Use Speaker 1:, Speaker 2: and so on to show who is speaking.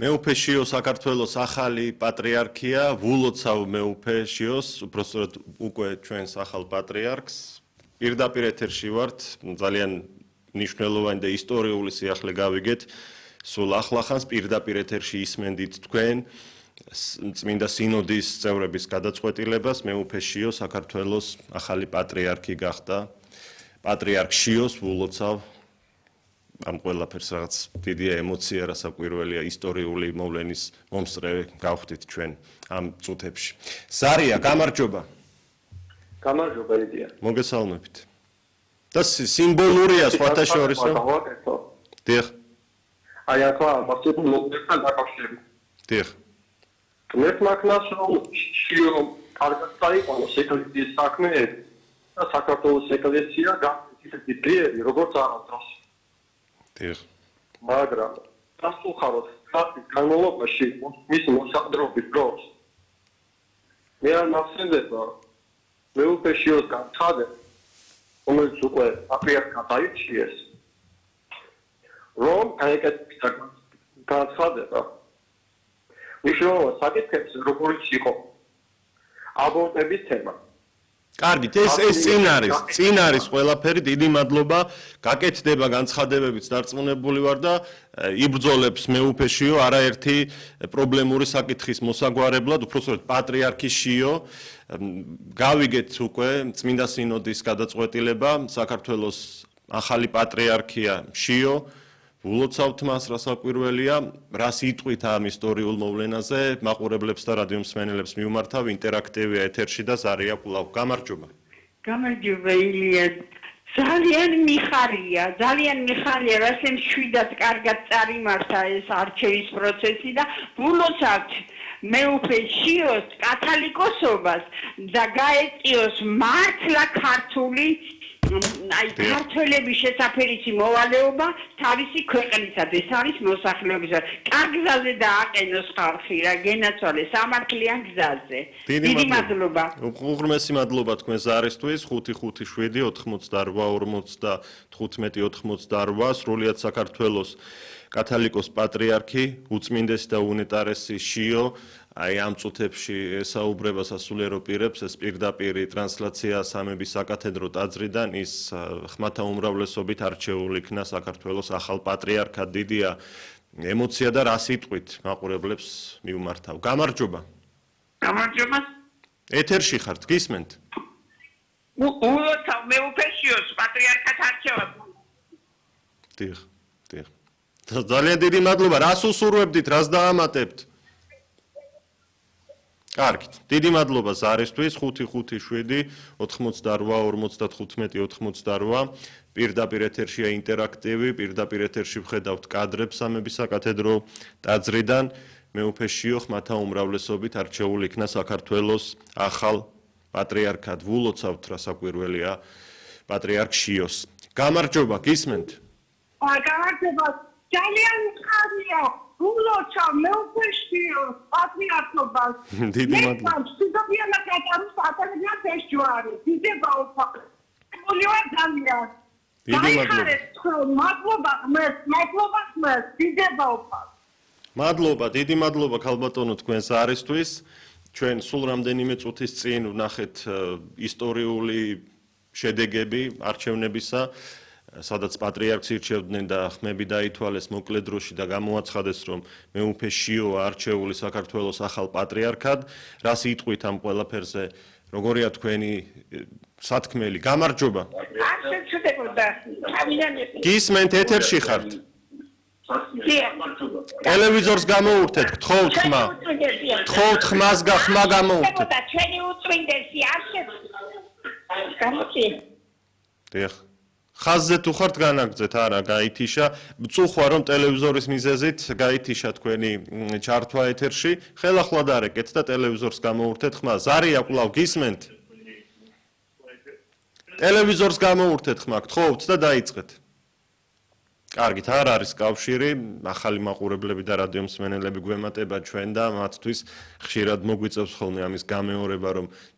Speaker 1: მეუფე შიო საქართველოს ახალი პატრიარქია, ვულოცავ მეუფე შიოს, უბრალოდ უკვე ჩვენს ახალ პატრიარქს. პირდაპირ ეთერში ვართ, ძალიან მნიშვნელოვანი და ისტორიული სიახლე გავიგეთ. სულ ახლახანს პირდაპირ ეთერში ისმენდით თქვენ წმინდა სინოდის წევრების გადაწყვეტილებას, მეუფე შიო საქართველოს ახალი პატრიარქი გახდა. პატრიარქ შიოს ვულოცავ ამ ყველაფერს რაღაც დიდი ემოცია რასაკვირველია ისტორიული მოვლენის მომსწრე გავხდით ჩვენ ამ წუთებში. ზარია, გამარჯობა.
Speaker 2: გამარჯობა იდეა.
Speaker 1: მოგესალმებით. და სიმბოლურია სხვათა შორისო. დიახ.
Speaker 2: აი ახლა მასწავლებლ მოგესალმებთან დაკავშირებით.
Speaker 1: დიახ.
Speaker 2: მე მაქნას რომ შიო კარგად წაიყვანოს ეკლესიის საქმეები და საქართველოს ეკლესია გახდეს ძლიერი როგორც არასდროს. მაგრამ დასუხაროთ ხალხის განმავლობაში მისი მოსაყდრობის დროს მე არ მახსენდება მეუფე შიოს განცხადება რომელიც უკვე პატრიარქად აირჩიეს რომ აიკეთებს განცხადება მნიშვნელოვან საკითხებს როგორც იყო აბორტების თემა.
Speaker 1: კარგით, ეს წინ არის ყველაფერი, დიდი მადლობა. გაკეთდება განცხადებებიც დარწმუნებული ვარ და იბრძოლებს მეუფე შიო არაერთი პრობლემური საკითხის მოსაგვარებლად, უпроსტოდ პატრიარქი შიო. გავიგეთ უკვე წმინდა სინოდის გადაწყვეტილება, საქართველოს ახალი პატრიარქია შიო. ვულოცავთ მას რასაკვირველია, რას იტყვით ამ ისტორიულ მოვლენაზე, მაყურებლებს და რადიო მსმენელებს მივმართავ ინტერაქტივია ეთერში და ზარია კვლავ. გამარჯობა.
Speaker 3: გამარჯობა ილია. ძალიან მიხარია, რასაც შვიდად კარგად წარიმართა ეს არჩევის პროცესი და ვულოცავთ მეუფე შიოს კათალიკოსობას და გაეწიოს მართლა ქართული ქართველების შესაფერისი მოვალეობა თავისი ქვეყნისად, ეს არის მოსახლეობის. კარგ გზაზე დააყენოს ხალხი რა, გენაცვალეს სამართლიან გზაზე. დიდი მადლობა.
Speaker 1: უღრმესი მადლობა თქვენ ზარისთვის 557-88 სრულიად საქართველოს კათალიკოს პატრიარქი, უწმინდესი და უნეტარესი შიო აი ამ წუთებში ესაუბრება სასულიერო პირებს, ეს პირდაპირი ტრანსლაცია სამების საკათედრო ტაძრიდან, ის ხმათა უმრავლესობით არჩეულ იქნა საქართველოს ახალ პატრიარქად. დიდია ემოცია და რას იტყვით მაყურებლებს მივმართავ. გამარჯობა.
Speaker 3: გამარჯობა.
Speaker 1: ეთერში ხართ, გისმენთ?
Speaker 3: ულოცავ მეუფე შიოს პატრიარქად არჩევას.
Speaker 1: დიახ. ძალიან დიდი მადლობა. რას უსურვებდით, რას დაამატებთ? კარგით. დიდი მადლობა ზარისთვის 557-88-55-88 პირდაპირ ეთერშია ინტერაქტივი, პირდაპირ ეთერში ვხედავთ კადრებს სამების საკათედრო ტაძრიდან. მეუფე შიო ხმათა უმრავლესობით არჩეულ იქნა საქართველოს ახალ პატრიარქად. ვულოცავთ რასაკვირველია პატრიარქ შიოს. გამარჯობა, გისმენთ?
Speaker 3: გამარჯობა. ძალიან მიხარია. ვულოცავ მეუფე შიოს პატრიარქობას.
Speaker 1: დიდი მადლობა.
Speaker 3: სიძებიან აკეთებს აკადემიას ეს ჯვარი. დიდი ბაუფა. მოლივარ ძალიან.
Speaker 1: დიდი მადლობა.
Speaker 3: მადლობა ხმეს. დიდი ბაუფა.
Speaker 1: მადლობა, დიდი მადლობა ქალბატონო თქვენს არისთვის. ჩვენ სულ რამდენიმე წუთის წინ ვნახეთ ისტორიული შედეგები არჩევნებისა. სადაც პატრიარქს ირჩევდნენ და ხმები დაითვალეს მოკლე დროში და გამოაცხადეს, რომ მეუფე შიო არჩეული საქართველოს ახალ პატრიარქად. რას იტყვით ამ ყველაფერზე? როგორია თქვენი სათქმელი? გამარჯობა. გისმენთ, ეთერში ხართ? ტელევიზორს გამოურთეთ, გთხოვთ ხმა. გთხოვთ ხმას ხმა გამოურთეთ.
Speaker 3: ჩვენი უწმინდესი არჩევ.
Speaker 1: დიახ. ხაზზე თუ ხართ განაგრძეთ, არა, გაითიშა. მწუხვა რომ ტელევიზორის მიზეზით გაითიშა თქვენი ჩართვა ეთერში. ხელახლა დარეკეთ და ტელევიზორს გამოურთეთ ხმა. ზარია კვლავ გისმენთ? ტელევიზორს გამოურთეთ ხმა, გთხოვთ და დაიწყეთ. კარგით, არ არის კავშირი, ახალი მაყურებლები და რადიო მსმენელები გვემატება ჩვენ და მათთვის ხშირად მოგვიწევს ხოლმე ამის გამეორება, რომ